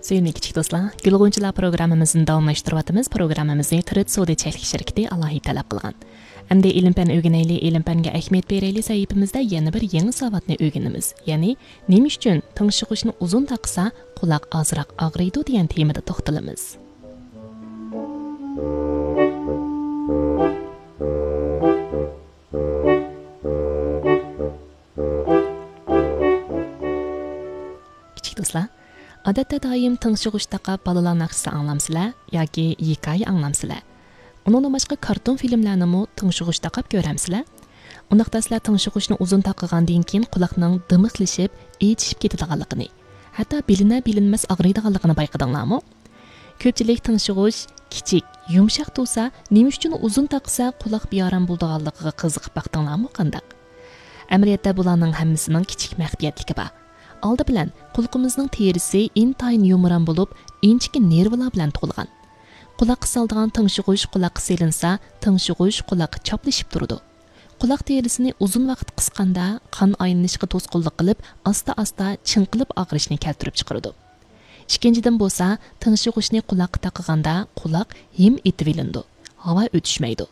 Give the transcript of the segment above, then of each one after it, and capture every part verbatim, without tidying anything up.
سۆيۈملۈك كىچىك دوستلار، گۈل غۇنچىلار پروگراممىمىزنى داۋاملاشتۇرۇۋاتىمىز. پروگراممىمىزنى تىرىت سودا چەكلىك شىركىتى ئالاھىدە تەلەپ قىلغان. ئەمدى ئىلىم پەن ئۆگىنەيلى، ئىلىم پەنگە ئەھمىيەت بېرەيلى سەھىپىمىزدە يەنە بىر يېڭى ساۋاتنى ئۆگىنىمىز. يەنى، نېمە ئۈچۈن تىڭشىغۇچنى ئۇزۇن تاقىسا قۇلاق ئازراق ئاغرىيدۇ دېگەن تېمىدا توختىلىمىز. كىچىك دوستلار، ئادەتتە دائىم تىڭشىغۇچ تاقاپ بالىلار ناخشىسى ئاڭلامسىلەر ياكى ھېكايە ئاڭلامسىلەر؟ ئۇنىڭدىن باشقا كارتون فىلىملەرنىمۇ تىڭشىغۇچ تاقاپ كۆرەمسىلەر؟ ئۇنداقتا سىلەر تىڭشىغۇچنى ئۇزۇن تاقىغاندىن كېيىن قۇلاقنىڭ دىمىقلىشىپ، ئېچىشىپ كېتىدىغانلىقىنى، ھەتتا بىلىنە-بىلىنمەس ئاغرىيدىغانلىقىنى بايقىدىڭلارمۇ؟ كۆپچىلىك تىڭشىغۇچ كىچىك، يۇمشاق تۇرسا، نېمە ئۈچۈن ئۇزۇن تاقىسا قۇلاق بىئارام بولىدىغانلىقىغا قىزىقىپ باقتىڭلارمۇ قانداق؟ ئەمەلىيەتتە بۇلارنىڭ ھەممىسىنىڭ كىچىك مەخپىيەتلىكى بار. ئالدى بىلەن، قۇلىقىمىزنىڭ تېرىسى ئىنتايىن يۇمران بولۇپ، ئىنچىكە نېرۋىلار بىلەن تولغان. قۇلاققا سالىدىغان تىڭشىغۇچ قۇلاققا سېلىنسا، تىڭشىغۇچ قۇلاققا چاپلىشىپ تۇرىدۇ. قۇلاق تېرىسىنى ئۇزۇن ۋاقىت قىسقاندا، قان ئايلىنىشقا توسقۇنلۇق قىلىپ، ئاستا-ئاستا چىڭقىلىپ ئاغرىشنى كەلتۈرۈپ چىقىرىدۇ. ئىككىنچىدىن بولسا، تىڭشىغۇچنى قۇلاققا تاقىغاندا قۇلاق ھىم ئېتىۋېلىنىدۇ، ھاۋا ئۆتۈشمەيدۇ.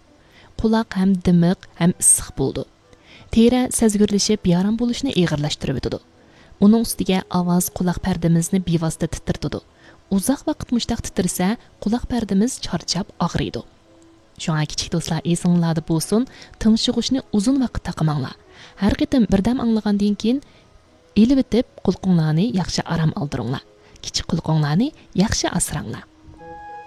قۇلاق ھەم دىمىق ھەم ئىسسىق بولىدۇ. تېرە سەزگۈرلىشىپ، بىئارام بولۇشنى ئېغىرلاشتۇرۇۋېتىدۇ. ئۇنىڭ ئۈستىگە ئاۋاز قۇلاق پەردىمىزنى بىۋاسىتە تىترىتىدۇ. ئۇزاق ۋاقىت مۇشتاق تىترىسە، قۇلاق پەردىمىز چارچاپ ئاغرىيدۇ. شۇڭا كىچىك دوستلار، ئېسىڭلاردا بولسۇن، تىڭشىغۇچنى ئۇزۇن ۋاقىت تاقىماڭلار. ھەر قېتىم بىردەم ئاڭلىغاندىن كېيىن، ئېلىۋېتىپ، قۇلىقىڭلارنى ياخشى ئارام ئالدۇرۇڭلار. كىچىك قۇلىقىڭلارنى ياخشى ئاسراڭلار.